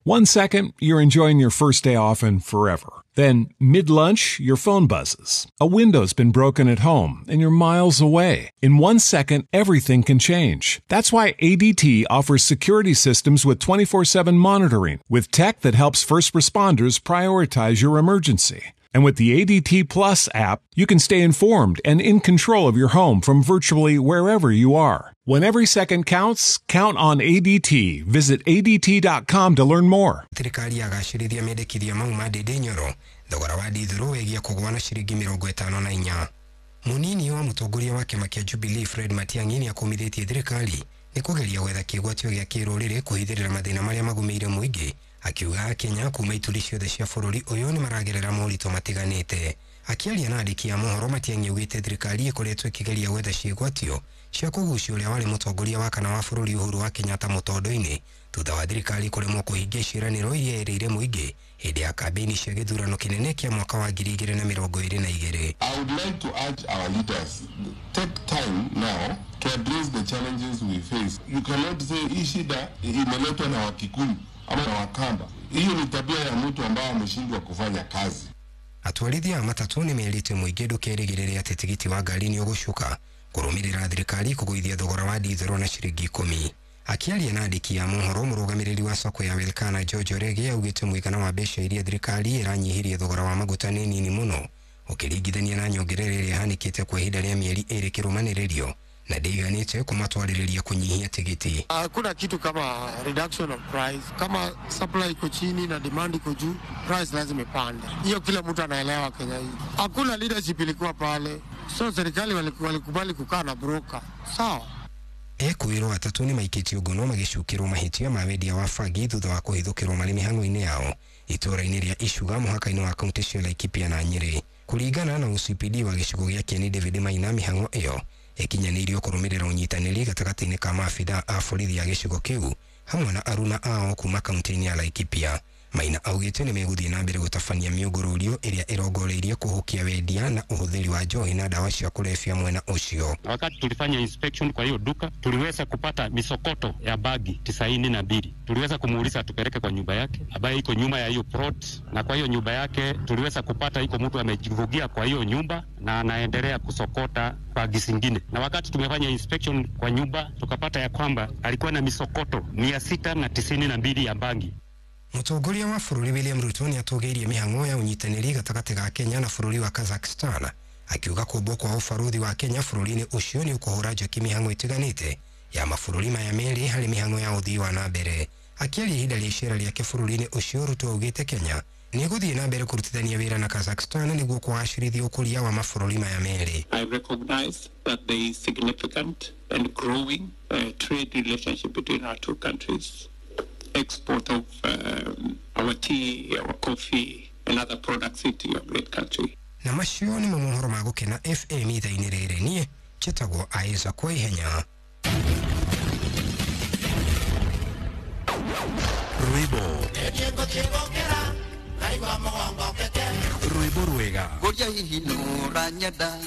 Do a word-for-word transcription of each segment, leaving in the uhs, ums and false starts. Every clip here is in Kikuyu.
One second, you're enjoying your first day off and forever. Then, mid-lunch, your phone buzzes. A window's been broken at home, and you're miles away. In one second, everything can change. That's why A D T offers security systems with twenty-four seven monitoring, with tech that helps first responders prioritize your emergency. And with the A D T Plus app, you can stay informed and in control of your home from virtually wherever you are. When every second counts, count on A D T. Visit A D T dot com to learn more. Thirikari yagacĩrithia mendekithia mau ma Ndindi Nyoro thogora wa ndithũrũ wĩgiĩ kũgũa na ciringi mĩrongo ĩtano na inya. Mũnini wa mũtongoria wa kĩama kĩa Jubilee Fred Matiang'i nĩakũmithĩtie thirikari nĩ kũgeria gwetha kĩgwatio gĩa kĩrũrĩrĩ kũhithĩrĩra mathĩna marĩa magũmĩire mũingĩ, akiuga Kenya kuma ituri ciothe cia bũrũri ũyũ nĩmaragerera moritũ matiganĩte. Akĩaria na andĩki a mohoro, Matiang'i augĩte thirikari ĩkoretwo ĩkĩgeria gwetha ciĩgwatio cia kũgucia ũrĩa warĩ mũtongoria wa kana wa bũrũri Uhuru wa Kenyatta mũtondo-inĩ thutha wa thirikari kũremwo kũhingia ciĩranĩro iria ĩrĩire mũingĩ hĩndĩ ya kambĩini cia gĩthurano kĩnene kĩa mwaka wa ngiri igĩrĩ na mĩrongo ĩrĩ na igĩrĩ. I would like to urge our leaders, take time now to address the challenges we face. You cannot say hii shida imeletwa na Wakikuyu ama na Wakamba. Hiyo ni tabia ya mtu ambaye ameshindwa kufanya kazi. Atwarithia a matatũ nĩmerĩte mũingĩ ndũkerĩgĩrĩre atĩ tigiti wa ngari nĩ ũgũcuka kũrũmĩrĩra thirikari kũgũithia thogora wa ndithũrũ na ciringi ikũmi. Akĩaria na andĩki a mohoro, mũrũgamĩrĩri wa soko ya Wilkana George Orege augĩte mũigana wa mbeca iria thirikari ĩranyihirie thogora wa maguta nĩ nini mũno ũkĩringithania na nyongerera ĩrĩa ĩhanĩkĩte kwa ihinda rĩa mĩeri ĩrĩ kĩrũmanĩrĩrio na ndĩiganĩte kũmatwarĩrĩria kũnyihia tigiti. Hakuna kitu kama reduction of price. Kama supply iko chini na demand iko juu, price lazima ipande. Hiyo kila mtu anaelewa Kenya hii. Hakuna leadership ilikuwa pale. So serikali walikubali kukaa na broker. Sawa. Ekuirwo atatu nĩ maikĩtio ngono magĩcukĩrwo mahĩtia ma wendia wa bangi thutha wa kũhithũkĩrwo marĩ mĩhang'o-inĩ yao itũũra-inĩ rĩa Icuga mũhaka-inĩ wa kaunti cia Laikipia na Nyĩrĩ. Kũringana na O C P D wa gĩcigo gĩa Kieni David Maina, mĩhang'o ĩyo ĩkinyanĩirio kũrũmĩrĩra ũnyitanĩri gatagatĩ-inĩ ka maabitha a borithi a gĩcigo kĩu hamwe na aruna ao kuma kaunti-inĩ ya Laikipia. Maina augĩte nĩ megũthiĩ na mbere gũtabania mĩũngũrũrio ĩrĩa ĩrongoreirie kũhukia wendia na ũhũthĩri wa njohi na dawa cia kulevya mwena ũcio. Wakati tulifanya inspection kwa hiyo duka, tuliweza kupata misokoto ya bagi tisaini na mbili. Tuliweza kumuuliza tupeleke kwa nyumba yake ambayo iko nyuma ya hiyo plot, na kwa hiyo nyumba yake tuliweza kupata iko mtu amejivugia kwa hiyo nyumba na anaendelea kusokota bagi zingine. Na wakati tumefanya inspection kwa nyumba, tukapata ya kwamba alikuwa na misokoto mia sita na tisini na mbili ya bangi. Mũtongoria wa bũrũri William Ruto nĩatũgĩirie mĩhang'o ya ũnyitanĩri gatagatĩ ga Kenya na bũrũri wa Kazakhstan, akiuga kũmbwo kwa ũbarũthi wa Kenya bũrũri-inĩ ũcio nĩ ũkũhũra njeki mĩhang'o ĩtiganĩte ya mabũrũri maya merĩ harĩ mĩhang'o ya ũthii wa na mbere. Akĩaria ihinda rĩa icera rĩake bũrũri-inĩ ũcio, Ruto augĩte Kenya nĩ ĩgũthiĩ na mbere kũrutithania wĩra na Kazakhstan nĩguo kũgacĩrithia ũkũria wa mabũrũri maya merĩ. I recognize that there is significant and growing uh, trade relationship between our two countries. Export of um, our tea, our coffee, and other products into your great country. Na macio nĩ mohoro ma Gũkena F M ithaa-inĩ rĩrĩ, niĩ njĩtagwo Isaac Waihenya. Rwĩmbo rwĩmbo rwega Ngoria hihi nũranyenda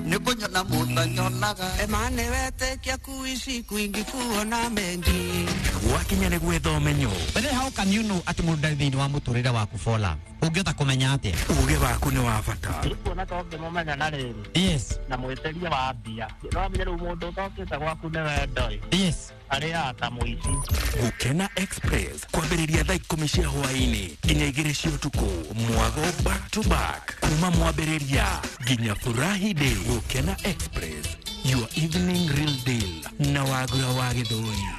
nĩ kũnyona mũtanyonaga Emane wetĩkia kuishi kwingi kuona mengi gwakinya nĩ gwetha ũmenyo. But then how can you know atĩ mũndũ ndarĩ thĩinĩ wa mũtũrĩre waku for love? Ũngĩhota kũmenya atĩa? Ũgĩ waku nĩ wa bata. Kuona ta ũngĩmũmenya na rĩrĩ. Yes. Na mwĩtĩrie wa mbia. No amenye rĩu mũndũ ũtokĩte gwaku nĩ wendo ĩ. Yes. Arĩa ta mũici. Gũkena Express kwambĩrĩria thaa ikũmi cia hwaĩ-inĩ nginya igĩrĩ cia ũtukũ, mwago back to back kuma mwambĩrĩria nginya furahi day. Gũkena Express, your evening real deal na Wagura wa Gĩthũri.